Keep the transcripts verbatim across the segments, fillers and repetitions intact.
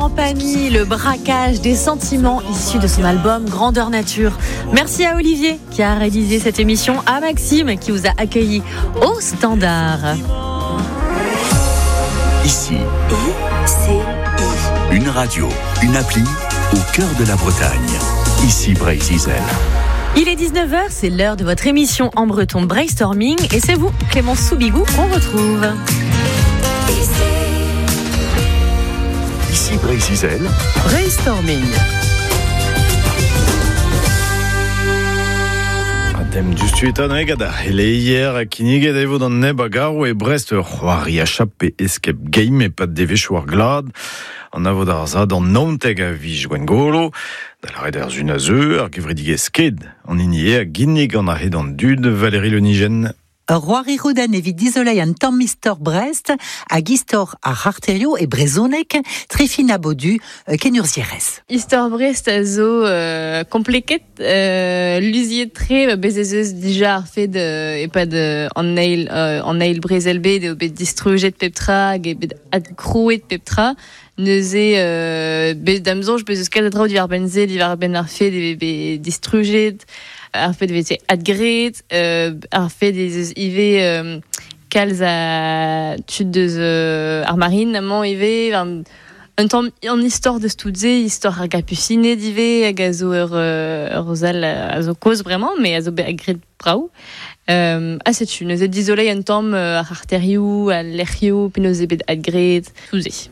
Laurent Pagny, le braquage des sentiments issu de son album Grandeur Nature. Merci à Olivier qui a réalisé cette émission, à Maxime qui vous a accueilli au standard. Ici, I C I. Une radio, une appli au cœur de la Bretagne. Ici Breizh-Izel. Il est dix-neuf heures, c'est l'heure de votre émission en breton Brainstorming et c'est vous, Clémence Soubigou, qu'on retrouve. Ici Breizh-Izel. Brainstorming. Dem dustuetan egad ar heleier a kinniget evo d'an neb a garo e Brest ur c'hoari a chape escape game e pad devezhioù ar glad. An avo d'ar zad an naontek a vij gwengolo, da lâret ar zun a zeu, ar gevredigezh sked, an hini eo a ginnig an ar hed an dud, Valérie Le Nigen. Ur c'hoari roudenn evit dizoleiñ an tamm istor Brest hag istor ar c'harterioù e brezhoneg Trifina Baudu kenurzhierez. Istor Brest a zo euh, kompleket, euh, luziet tre, bez ez eus dija ar fed euh, epad euh, an eil, euh, an eil brezel bet eo bet distrujet pep tra hag eo bet adkrouet pep tra. Neuze euh, bet da'm soñj bez eus kalz a draoù diwar benn se, diwar benn ar fed eo bet distrujet, ar fed veze adgret, euh, ar fed ez eus ivez euh, kalz a tud deus euh, ar marine amañ ivez, un, un tamm an istor deus tout se, istor ar gapusined ivez, hag a zo ur, ur zal a zo kozh bremañ, mais a zo bet agret brav. Euh, ha setu, neuze dizoleiñ un tamm ar arterioù, al lec'hioù, penaos eo bet adgret, tout se.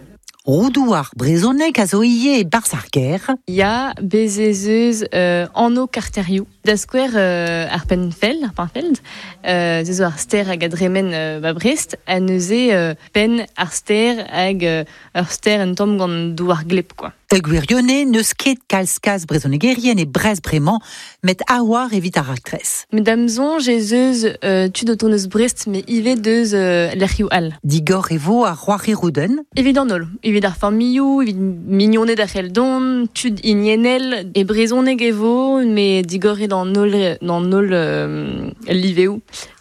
Roudoù ar brezhoneg a zo ivez e barzh ar gêr. Ya, bez ez eus euh, anv karterioù. Da skouer euh, ar Penfeld, ar Penfeld, euh, ze zo ar stêr hag a dremen euh, ba Brest, ha neuze euh, penn ar stêr hag euh, ur stêr un tamm gant douar gleb, quoi. E gwirionez n'eus ket kalz kalz brezhonegerien e Brest bremañ, met a-war evit ar raktres. Met da'm soñj ez eus euh, tud o tont eus Brest, met ivez deus euh, lec'hioù all. Digor e vo ar c'hoari roudenn. Evit an holl, evit ar familhoù, evit mignoned ar c'heldon, tud hiniennel, e brezhoneg e vo, met digor eo d'an holl, d'an holl euh, liveoù.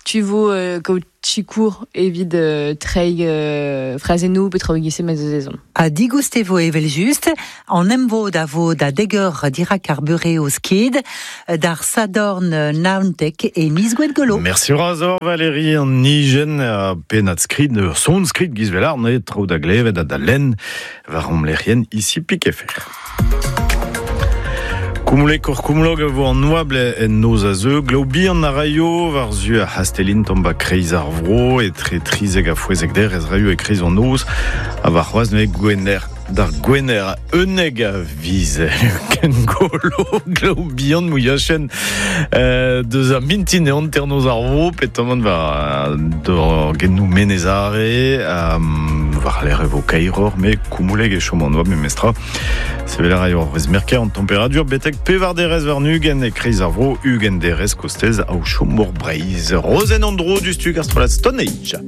Tu vo euh, kaout sikour evit euh, treiñ euh, frazennoù pe traoù e-giz-se ma zeus ezhomm. Ha digoust e vo evel-just, an emvod a vo da deg eur dirak ar beure o sked, d'ar Sadorn naontek e miz Gwengolo. Merci Razor, Valérie, an nijen a pennad skrid, ur son skrid giz vel ar ne traoù da glevet ha da lenn war om lec'hienn ici pik F R. Kumulek ur kumulog a vo an oabl en noz a zeu, glaou bihan a raio war zu ar C'hastellin tamm ba kreiz ar vro, etre trizek ha fouezek der ez raio e kreiz an noz, ha war c'hoazh neuze gwener d'ar gwener unnek a viz kengolo glaou bihan mouiachen euh, deus ar mintin e hanter noz ar vro, petamant war d'ur gennou menez-are, um, war l'air e vo kaeroc'h, me koumoulek e chom an oabl memestra. Sevel a raio ar vrez merker an temperadur betek pevar derez war ugent e kreiz ar vro, ugent derez kostez ao chom mor Breizh. Rozenn an dro du stug ar strollad Stone Age.